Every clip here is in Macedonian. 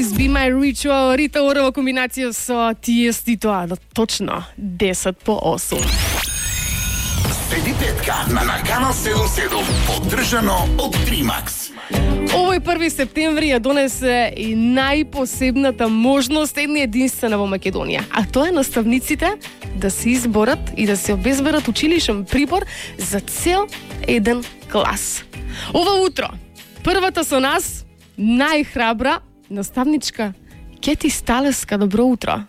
Always Be My Ritual, Рита Ора во комбинација со Тиестито, точно 10 по 8. Следи петка на Канал 77, поддржано од Тримакс. Овој 1 септември ја донесе и најпосебната можност една единствена во Македонија, а тоа е наставниците да се изборат и да се обезберат училишен прибор за цел еден клас. Ова утро, првата со нас, најхрабра наставничка Кети Сталеска. Добро утро.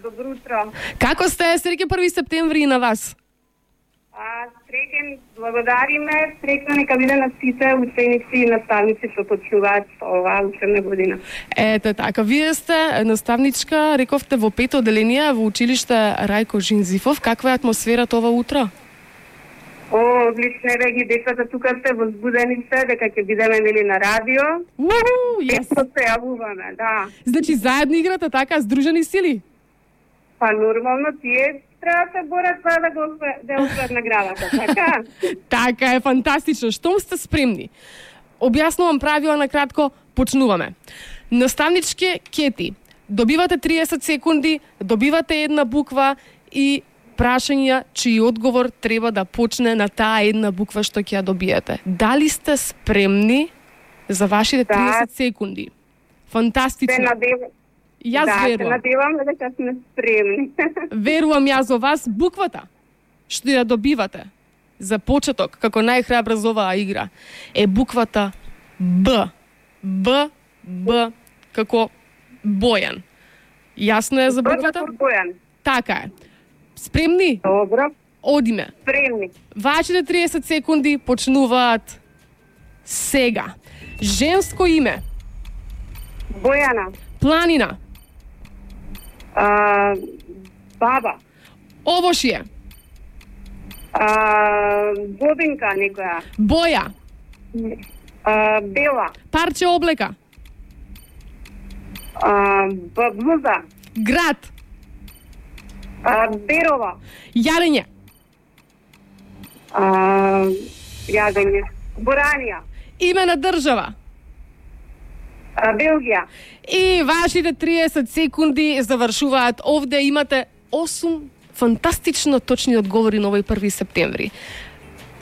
Добро утро. Како сте? Среќен 1 септември и на вас. Среќен, благодариме. Среќна нека биде на сите ученици и наставници што почнуваат оваа учебна година. Ете така, вие сте наставничка, рековте во 5 одделение во училиште Рајко Жинзифов. Каква е атмосферата ова утро? Одлично е, ги децата тука се возбудени се дека ќе бидеме нели на радио. Јас. Се јавуваме, да. Значи заедно играте така, здружени сили? Па нормално тие треба да се борат за да освојат наградата, така? Така е, фантастично. Штом сте спремни? Објаснувам правила на кратко, почнуваме. Наставничке Кети, добивате 30 секунди, добивате една буква и прашања чиј одговор треба да почне на таа една буква што ќе ја добиете. Дали сте спремни за вашите 30 секунди? Фантастично. Јас верувам. Да, се надевам дека сме спремни. Верувам јас за вас. Буквата што ја добивате за почеток, како најхрабра за оваа игра, е буквата Б. Б, како Бојан. Јасно е за буквата? Бојан. Така е. Спремни? Добро. Одиме. Спремни. Вашите 30 секунди почнуваат сега. Женско име? Бојана. Планина? Баба. Овошје? Бобинка некоја. Боја? Бела. Парче облека? Блуза. Град? Берова. Јадење? Јадење. Боранија. Име на држава? Белгија. И вашите 30 секунди завршуваат. Овде имате 8 фантастично точни одговори на овој 1 септември.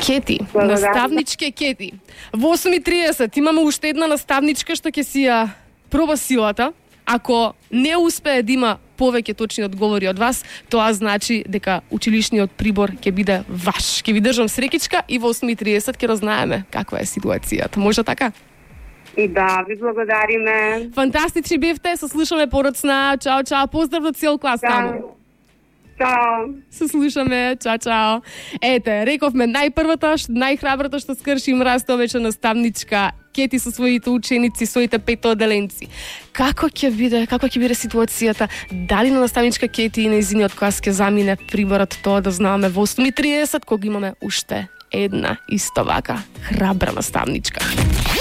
Кети, наставничке Кети. Во 8:30 имаме уште една наставничка што ќе си ја проба силата. Ако не успее да има повеќе точни одговори од вас, тоа значи дека училишниот прибор ќе биде ваш. Ќе ви држам срекичка и во 8:30 ќе разнаеме каква е ситуацијата. Може така? И да, ви благодариме. Фантастични бевте, се слушаме подоцна. Чао, чао, поздрав до цел клас таму. Чао. Се слушаме, чао. Ете, рековме најпрвата, најхрабрата што скрши мразта вече наставничка Кети со своите ученици, своите 5 одделенци. Како ќе биде ситуацијата? Дали на наставничка Кети и нејзиниот клас ќе замине приборот, тоа да знаме во 8:30, кога имаме уште една исто вака храбра наставничка.